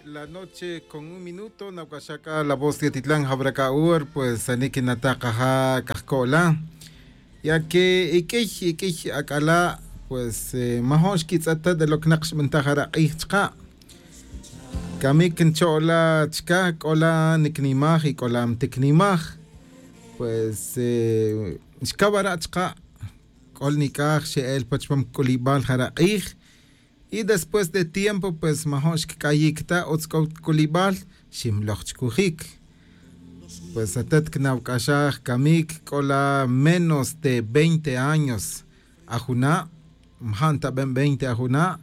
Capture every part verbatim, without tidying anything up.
La noche con un minuto nawc'axaj c'a la voz de titlan jawra c'a hor pues ani quinataj kaja cajco'la. Ya que iq'uiy iq'uiy ac'ala' pues majo'n xquitz'et ta de lo que nak xbintaj ara' k'ij chka'. Camic ncho'la chca c'ola nicnimaj y c'ola mticnimaj. Pues xcawara' chka'. C'ol nic'aj xe'el pa chupam c'ulibal jara' k'ij. Y después de tiempo pues majo'n xquic'ayic ta utz c'o c'ulibal. Ximloj chcujic. Pues atet cnawc'axaj camic c'ola menos de veinte años ajuna'. Maja' ntaben veinte ajuna'.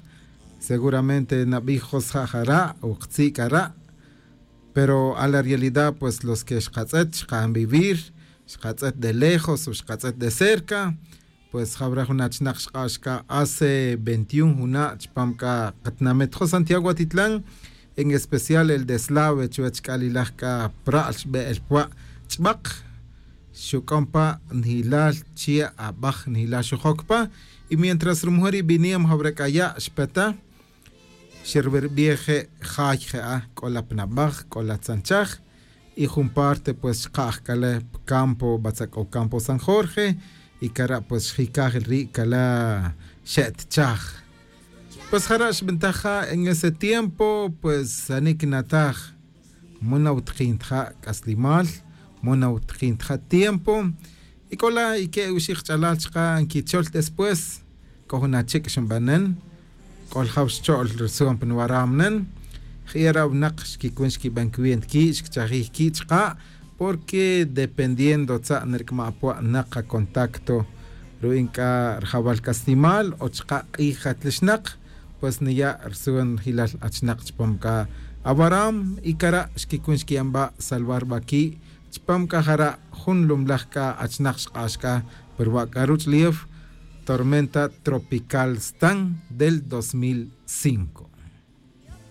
Seguramente nabij josja' jara' o ktzi' c'ara'. Pero a la realidad pues los que xkatz'et xkanvivir xkatz'et de lejos o xkatz'et de cerca. Pues jawra jun achnak xk'ax c'a hace veintiun juna' chupam c'a katinamit jo' santiago atitlan. En especial el de slave chuwech c'a lilaj c'a pra'l xbe'el pwa' ch'bak. Xuc'on pa njilal chi' abaj njilal xujoc pa. Y mientras rumujun ri biniam jawra c'a ya' xpeta. Xerwirbij je' jay je'a c'o la pa nabaj c'o la tzanchaj. Y jun parte pues xka'aj c'a la pa campo batza c'o campo san jorge. Y cara' pues xjicaj ri' c'a la xe'tchaj. Pues jara' xbintaj ja en ese tiempo pues ani quinataj. Mu nawtikin ta ja' c'aslimal. Mu nawtikin ta ja' tiempo. Y c'o la ique' uxi' kach'alal chka' nquichol después. C'o jun achic' xinbanen. C'o ljaw xcho'l rsu'un pa nwaram nen. Je'e ra' winak xquicun xquiben cwi' ntiqui' xquichajij qui' chka'. Porque dependiendo tza' nirc'ma' pwa' nak kacontacto ru'in c'a rjawal caslimal o chka' k'ij jatlixnak. Pues niya' rsu'un jilal achnak' chupam c'a awaram y cara' xquicun xqui'anba' salvar ba qui'. Chupam c'a jara' jun lumlaj c'a achnak' xk'ax c'a pa ruwa' c'a ruch'ulef tormenta tropical stan del dos mil cinco.